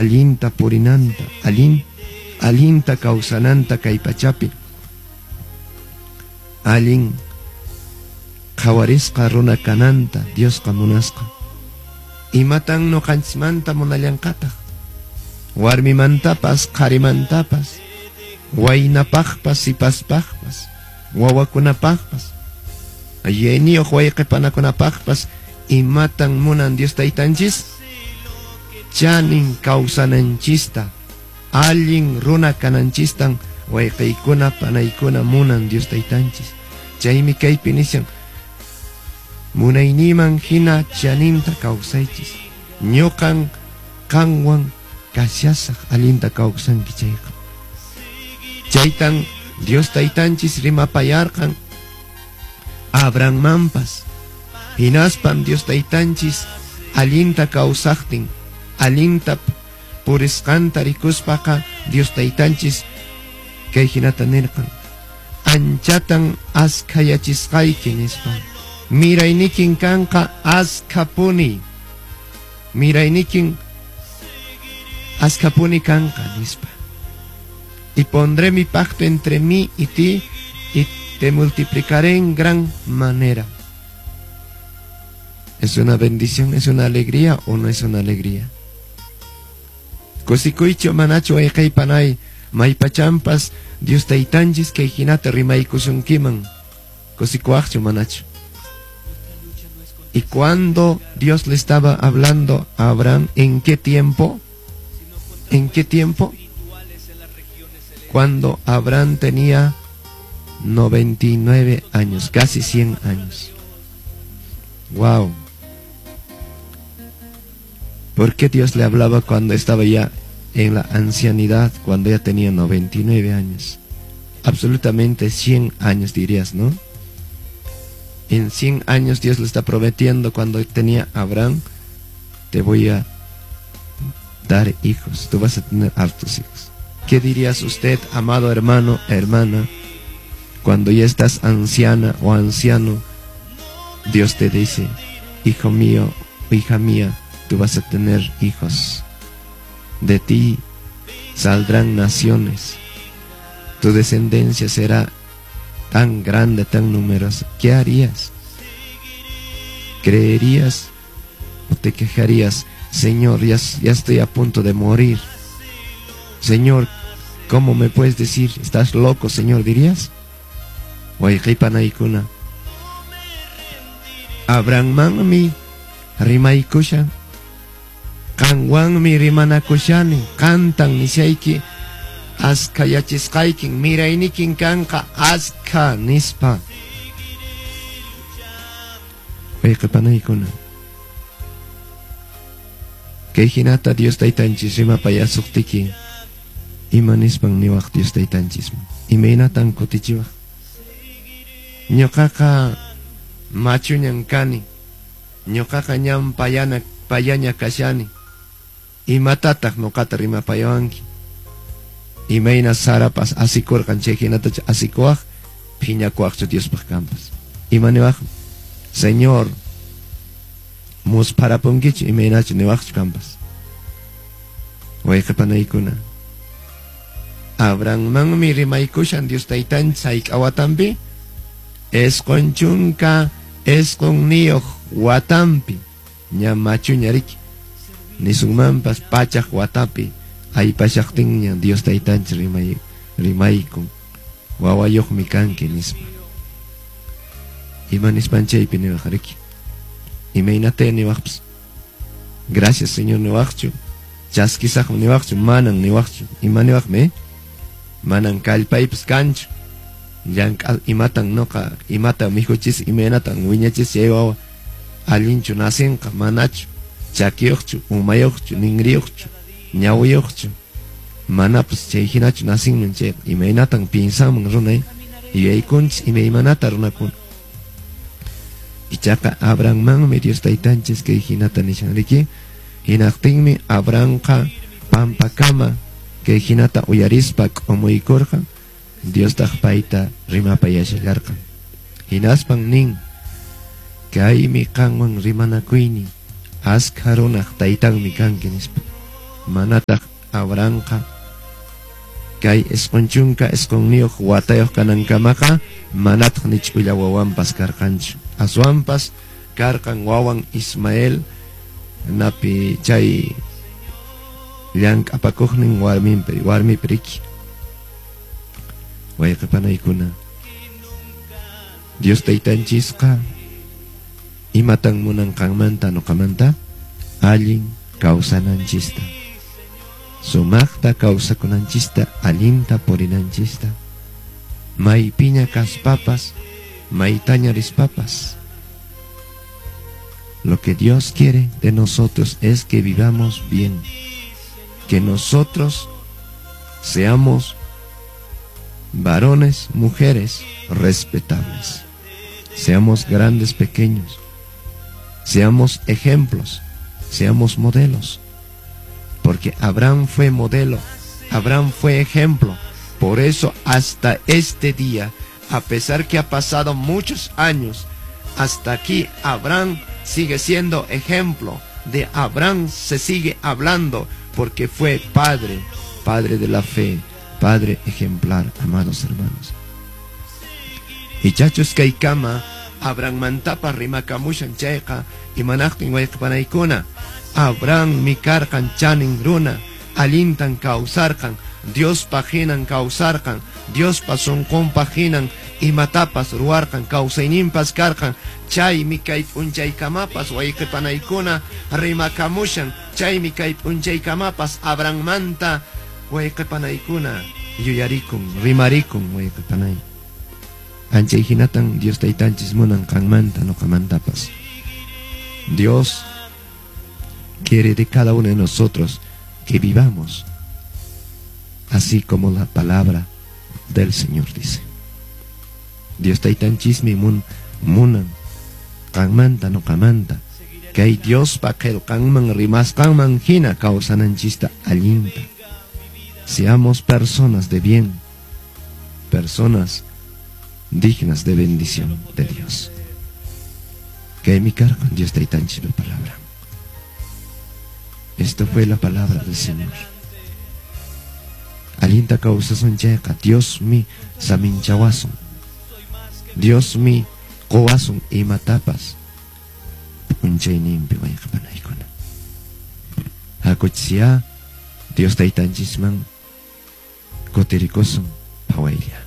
Allinta purinanta, allinta kawsananta kay pachapi. Allin qhawarisqa runa kananta Diosqa munasqa. Imatan nuqanchismanta munallanqataq? Warmimantapas, qharimantapas, waynapaqpas, sipaspaqpas, wawakunapaqpas, yuyayniyuq wayqipanakunapaqpas, imatan munan Dios taytanchis? Chanin kawsananchista, allin runa kananchistan wayqiykuna, panaykuna munan Dios taytanchis. Chaymi kaypi nishan, munayniyman hina chaninta kawsaychis. Ñuqan qanwan kashasaq allinta kawsanki chayqa. Chaytan Dios taytanchis rimapayarqan Abrahammanpas. Hinaspan Dios taytanchis allinta kawsaqtin, allinta purisqanta rikuspaqa Dios taytanchis kay hinata nirqan: anchatan askhayachisqayki nispa. Miraynikin kanqa askhapuni. Miraynikin askhapuni kanqa nispa. Y pondré mi pacto entre mí y ti y te multiplicaré en gran manera. ¿Es una bendición, es una alegría o no es una alegría? Kusikuychu manachu wayqey panay maypachampas Dios taytanchis kay hinata rimaykusunkiman. Kusikuwaqchu manachu? ¿Y cuando Dios le estaba hablando a Abraham? ¿En qué tiempo? ¿En qué tiempo? Cuando Abraham tenía 99 años, casi 100 años. ¡Wow! ¿Por qué Dios le hablaba cuando estaba ya en la ancianidad, cuando ya tenía 99 años? Absolutamente 100 años dirías, ¿no? En 100 años Dios le está prometiendo cuando tenía Abraham, te voy a dar hijos, tú vas a tener hartos hijos. ¿Qué dirías usted, amado hermano, hermana, cuando ya estás anciana o anciano? Dios te dice, hijo mío, hija mía, tú vas a tener hijos. De ti saldrán naciones. Tu descendencia será tan grande, tan numerosa. ¿Qué harías? ¿Creerías o te quejarías? Señor, ya estoy a punto de morir. Señor, ¿cómo me puedes decir? ¿Estás loco, Señor? ¿Dirías? Wayqipanaykuna. Abrahammanmi rimaykushan. Qanwanmi rimanakushani. Qantan nishayki askhayachisqaykin miraynikin kanqa askha nispa. Wayqipanaykuna. Kay hinata Dios taytanchis rimapayasuqtiki ima nispan niwaq Dios taytanchisman? Imaynatan kutichiwaq? Ñuqaqa machuñan kani. Ñuqaqa ñan payaña kashani. Imatataq ñuqata rimapayawanki? Imayna Sarapas asikurqan chay hinata asikuwaq, phiñakuwaqchu Diospaq kanpas. Ima niwaq? Señor, muspharapunkichu imaynachu niwaqchu kanpas. Wayqipanaykuna. Abrahammanmi rimaykushan Dios taytanchis hayk'a watanpi? 99 watanpi. Ña machuña riki. Nisunmanpas pachaq watapi aypashaqtinña Dios taytanchis rimaykun. Wawayuqmi kanki nispa. Ima nispan chaypi niwaq riki? Imaynata niwaqpas? Gracias Señor niwaqchu. Chaskisaqmi niwaqchu, manan niwaqchu. Ima niwaqmi? Manan kallpaypas kanchu. Llank'a imatan noqa, imata mikhuchis, imaynatan wiñachis chay wawa allinchu nacinqa, manachu, chakiyuqchu, umayuqchu, ningriyuqchu, ñawiyuqchu. Manapas chay hinachu nacinman chayqa, imaynatan pinsanman runay, yuyaykunchis imaymanata runakuna. Ichaqa Abrahammanmi Dios taytanchis kay hinata nishan riki. Hinaqtinmi Abrahamqa pampakama kay hinata uyarispa k'umuykurqan. Diostaq payta rimapayashallarqan. Hinaspan nin, kaymi qanwan rimanakuynin, askha runaq taytanmi kanki nispa. Manataq Abrahamqa kay 90 9 watayuq kanankamaqa manataq ni ch'ulla wawanpas karqanchu. Aswanpas karqan wawan Ismael napi chay llank'apakuqnin warminpi warmipi riki. Wayqipanaykuna, Dios taytanchisqa imatan munan qanmanta nuqamanta? Allin kawsananchista, sumaqta kawsakunanchista, allinta purinanchista, maypiña kaspapas, maytaña rispapas. Lo que Dios quiere de nosotros es que vivamos bien, que nosotros seamos varones, mujeres respetables, seamos grandes, pequeños, seamos ejemplos, seamos modelos, porque Abraham fue modelo, Abraham fue ejemplo. Por eso hasta este día, a pesar que ha pasado muchos años, hasta aquí Abraham sigue siendo ejemplo. De Abraham se sigue hablando porque fue padre, padre de la fe, padre ejemplar, amados hermanos. Ichachus kaykama Abrahammantapas rimakamushan chayqa imanaqtin wayqipanaykuna. Abraham mi karqan chanin runa, allintan kawsarqan, Diospaq hinan kawsarqan, Diospa sunqunpaq hinan imatapas ruwarqan, kawsayninpas karqan. Chaymi kay p'unchaykamapas wayqipanaykuna rimakamushan, chaymi kay p'unchaykamapas Abrahammanta wayqipanaykuna yuyarikun, rimarikun wayqipanay. Anchay hinatan Dios taytanchis munan qanmanta nuqamantapas. Dios quiere de cada uno de nosotros que vivamos así como la palabra del Señor dice. Dios taytanchismi munan qanmanta nuqamanta kay Diospa qillqanman rimasqanman hina kawsananchista allinta. Seamos personas de bien, personas dignas de bendición de Dios. Que mi cargo en Dios taytanchispa palabra. Esto fue la palabra del Señor. Allinta kawsasun chayqa Dios mi saminchawasun. Dios mi qowasun imatapas. P'unchayninpi wayqipanaykuna. Hakuchsiya Dios taytanchisman kutirikusun phawaylla.